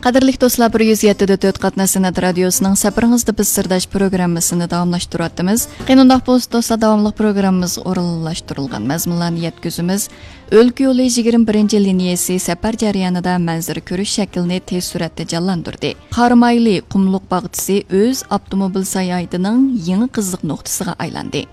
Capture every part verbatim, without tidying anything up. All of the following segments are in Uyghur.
قەدىرلىك دوستلار، بىر يۈز يەتتە دە تۆت قاتناش سەنئەت رادىيوسىنىڭ سەپىرىڭىزدە بىز سىرداش پروگراممىسىنى داۋاملاشتۇرۇۋاتىمىز. قېنى ئۇنداق بولسا دوستلار، داۋاملىق پروگراممىمىزغا ئورۇنلاشتۇرۇلغان مەزمۇنلارنى يەتكۈزىمىز. ئۆلكە يولى يىگىرمە بىرىنچى لىنىيەسى سەپەر جەريانىدا مەنزىرە كۆرۈش شەكلىنى تېز سۈرئەتتە جانلاندۇردى. قارامايلى قۇملۇق باغچىسى ئۆز ئاپتوموبىل ساياھىتىنىڭ يېڭى قىزىق نۇقتىسىغا ئايلاندى.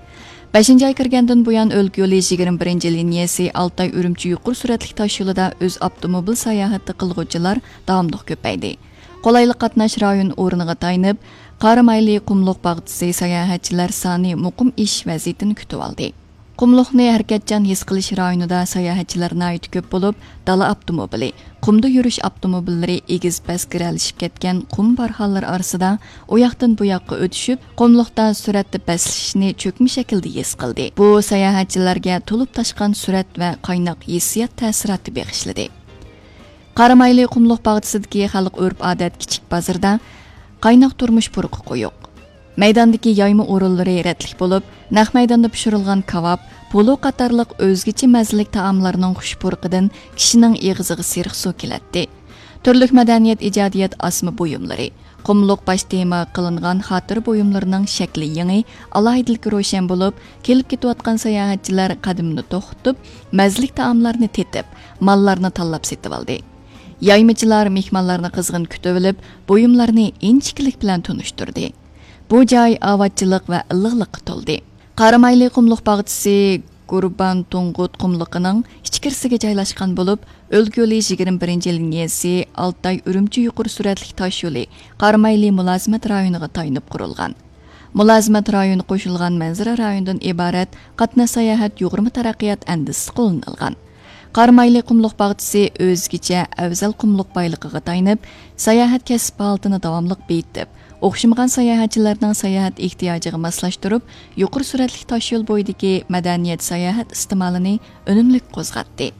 بەشىنچى ئاي كىرگەندىن بۇيان، ئۆلكە يولى يىگىرمە بىرىنچى لىنىيەسى ئالتاي ئۈرۈمچى يۇقىرى سۈرئەتلىك تاشيولىدا ئۆز ئاپتوموبىل ساياھىتى قىلغۇچىلار داۋاملىق كۆپەيدى. قولايلىق قاتناش رايون ئورنىغا تايىنىپ، قارامايلى قۇملۇق باغچىسى ساياھەتچىلەر سانى مۇقىم ئېشىش ۋەزىيىتىنى كۈتۈۋالدى. قۇملۇقنى ھەرىكەتچان ھېس قىلىش رايونىدا ساياھەتچىلەر ناھايىتى كۆپ بولۇپ، دالا ئاپتوموبىلى، قۇمدا يۈرۈش ئاپتوموبىللىرى ئېگىز پەس گىرەلىشىپ كەتكەن قۇم بارخانلىرى ئارىسىدا ئۇياقتىن بۇياققا ئۆتۈشۈپ، قۇملۇقتا سۈرئەتتە پەسلىشىشنى چۆكمە شەكىلدە ھېس قىلدى. بۇ ساياھەتچىلەرگە تولۇپ تاشقان سۈرئەت ۋە قايناق ھېسسىيات تەسىراتى بېغىشلىدى. قارامايلى قۇملۇق باغچىسىدىكى خەلق ئۆرپ-ئادەت كىچىك بازىرىدا قايناق تۇرمۇش پۇرىقى قويۇق. مەيداندىكى يايما ئورۇنلىرى رەتلىك بولۇپ، نەق مەيداندا پىشۇرۇلغان كاۋاپ، پولۇ قاتارلىق ئۆزگىچە مەززىلىك تائاملارنىڭ خۇش پۇرىقىدىن كىشىنىڭ ئېغىزىغا سېرىق سۇ كېلەتتى. تۈرلۈك مەدەنىيەت، ئىجادىيەت ئاسما بۇيۇملىرى، قۇملۇق باش تېما قىلىنغان خاتىرە بۇيۇملىرىنىڭ شەكلى يېڭى، ئالاھىدىلىكى روشەن بولۇپ، كېلىپ كېتىۋاتقان ساياھەتچىلەر قەدىمىنى توختىتىپ، مەززىلىك تائاملارنى تېتىپ، ماللارنى تاللاپ سېتىۋالدى. يايمىچىلار مېھمانلارنى قىزغىن كۈتۈۋېلىپ، بۇيۇملارنى ئىنچىكىلىك بىلەن تونۇشتۇردى. بۇ جاي ئاۋاتچىلىق ۋە ئىللىقلىققا تولدى. قارامايلى قۇملۇق باغچىسى قۇربان تۇڭغۇت قۇملۇقىنىڭ ئىچكىرىسىگە جايلاشقان بولۇپ، ئۆلكە يولى يىگىرمە بىرىنچى لىنىيەسى ئالتاي ئۈرۈمچى يۇقىرى سۈرئەتلىك تاش يولى قارامايلى مۇلازىمەت رايونىغا تايىنىپ قۇرۇلغان. مۇلازىمەت رايونى قوشۇلغان مەنزىرە رايونىدىن ئىبارەت قاتناش ساياھەت يۇغۇرما تەرەققىيات ئەندىزىسى قوللىنىلغان. قارامايلى قۇملۇق باغچىسى ئۆزگىچە ئەۋزەل قۇملۇق بايلىقىغا تايىنىپ، ساياھەت كەسىپ ھالىتىنى داۋاملىق بېيىتىپ، ئوخشىمىغان ساياھەتچىلەرنىڭ ساياھەت ئېھتىياجىغا ماسلاشتۇرۇپ، يۇقىرى سۈرئەتلىك تاش يول بويىدىكى مەدەنىيەت ساياھەت ئىستېمالىنى ئۈنۈملۈك قوزغاتتى.